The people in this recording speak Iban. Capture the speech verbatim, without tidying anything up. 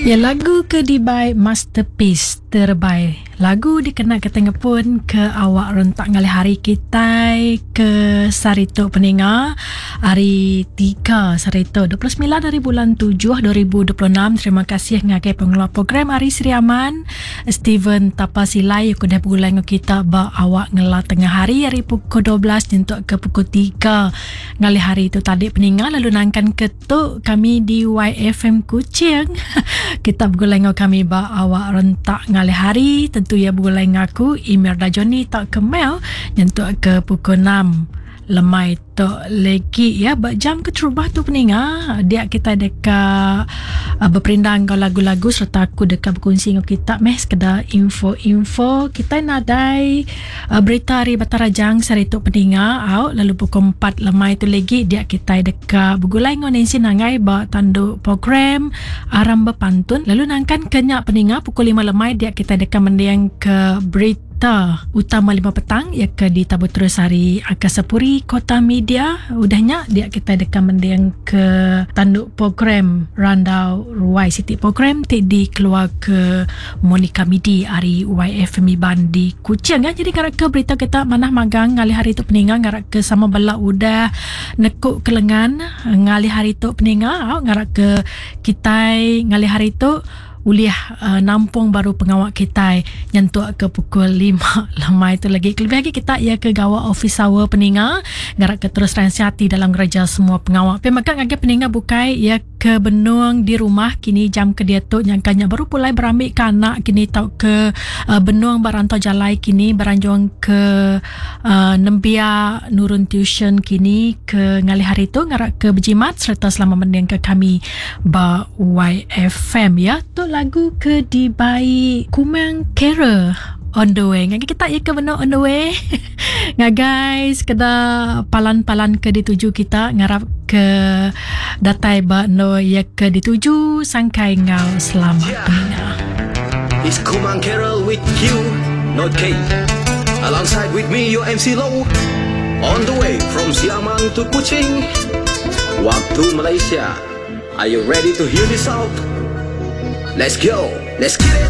Ya, lagu ke dibai Masterpiece Terbaik. Lagu dikena kita ngepun ke awak rentak ngalih hari kita ke saritu peninga, hari tiga saritu, dua puluh semilan hari bulan tujuh dua ribu dua puluh enam. Terima kasih ngagai pengelola program Hari Sri Aman, Steven Tapasilai, aku dah begulai dengan kita ba awak ngela tengah hari hari pukul dua belas untuk ke pukul tiga ngalih hari itu tadi peninga. Lalu nangkan ketuk kami di Y F M Kuching, kita begulai dengan kami ba awak rentak ngalih hari, tentu ya begulai dengan aku, Emir Dajoni tak kemel, nyentuk ke pukul enam lemai tu lagi ya. Ba jam keterubah tu peninga, dia kita dekat uh, berperindang ke lagu-lagu serta aku dekat berkongsi dengan kita meh sekedar info-info. Kita nadai uh, berita hari Batarajang sehari tu peninga au. Lalu pukul empat lemai tu lagi dia kita dekat bergulai dengan Nancy Nangai ba tanduk program Aram Berpantun. Lalu nangkan kenyak peninga, pukul lima lemai dia kita dekat mendiang ke berita berita utama lima petang ya ke di Tabu Terus hari Angkasa Puri Kota Media. Udahnya dia kita dekat mendiang ke tanduk program Randau Ruai City, program ti dikeluar ke Monica Midi hari Y F M Iban di Kuching ya. Jadi ngarak ke berita kita manah magang ngalih hari tu peninga, ngarak ke sama belak udah nekuk kelengan ngalih hari tu peninga, ngarak ke kita ngalih hari tu ulih uh, nampung baru pengawak kita nyentuk ke pukul lima lemai itu lagi. Lebih lagi kita ya ke gawa office hour peninga, ngarak ke terus hati dalam gereja semua pengawak. Tapi maka ngagai peninga bukai ya ke benung di rumah kini jam ke dia tu, nyangkanya baru pulai berambil ke anak kini, tau ke uh, benung barantau jalai kini, beranjuang ke uh, nembia nurun tuition kini ke ngalih hari tu, ngarak ke berjimat serta selama mending ke kami ba Y F M ya. Tu lagu ke dibai Kumang Carol, On The Way. Ngagai kita ya ke benar on the way. Ngagai sekedar palan-palan ke dituju kita, ngarap ke datai ba no ya ke dituju sangkai ngau selamat Yeah. peninga. It's Kumang Carol with Q, not K. Alongside with me, your M C Low. On the way from Sri Aman to Kuching. Waktu Malaysia. Are you ready to hear this out? Let's go. Let's get it.